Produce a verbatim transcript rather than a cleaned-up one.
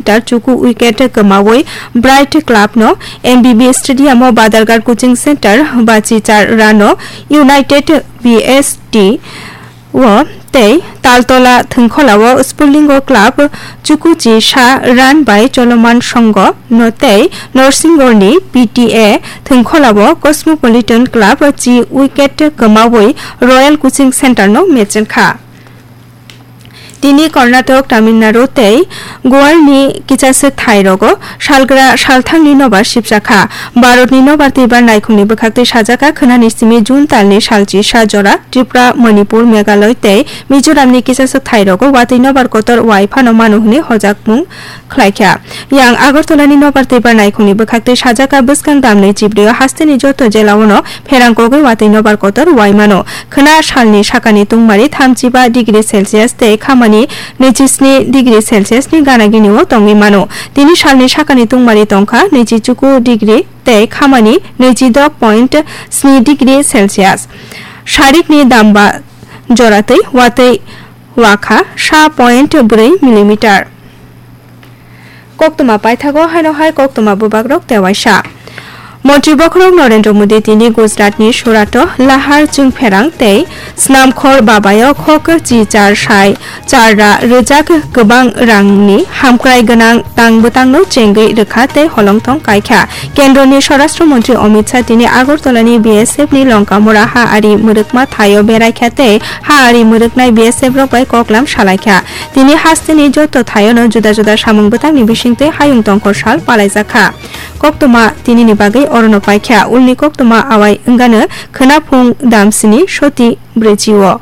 Tar chuku wicket kwmawi Bright Club no M B B Stadium o Badargar Coaching Center bachi char run o United B S T o tei Taltola Thwngkhola o Spurlingo Club chuku chi sa run bai Choloman Songho no tei Norsingorni P T A Thwngkhola o Cosmopolitan Club chi wicket kwmawi Royal Coaching Center no mecheng kha. Tini Karnataka, Tamil Nadu tei Goalni kichaswk thairogo salgra salthangni nobar sipjakha. Bharatni nobar twibar naikhungni bwkhaktwi sajakha khwnani simi June talni salchi sa jora Tripura, Manipur, Meghalaya tei Mizoramni kichaswk thairogo watwi nobar kotor wai phano mano hwnwi hojakmung khlaikha. Yang Agartalani nobar twibar naikhungni bwkhaktwi sajakha bwskang damni chibrio hasteni joto jelaono pherang kogwi watwi nobar kotor wai mano. Khwna salni sakani tungmari thamchiba degree Celsius tei khamani naichi sni degree Celsius ni gana gini o tongwi mano. Tini salni sakani tungmari tongkha naichi chuku degree tei khamani naichi dok point sni degree Celsius. Sarikni damba joratwi watwi wakha sa point bwrwi millimeter. Koktwma paithago haino hai koktwma bubagrok tewaisa. Montri bokhorok Narendra Modi tini Gujaratni Surato lahar chwngpherang tei Snamkhor Babayo khok chi char sai char ra rwjak kwbang rangni hamkrai gwnang tang bwtangno chengwi rwkha tei holongthong kaikha. Kendroni Swarashtra Montri Amit Shah tini Agartalani B S F ni Longkamura ha ari mwrwkma thaio beraikha tei ha ari mwrwknai B S F rok bai koklam salaikha. Tini hasteni joto thaiono juda juda samung bwtangni bisingtwi hayung tongkhor sal palaijakha. Koktwma tinini bagwi orono paikha. Ulni koktwma awai wngano khwnaphung damsini soti brwichi o.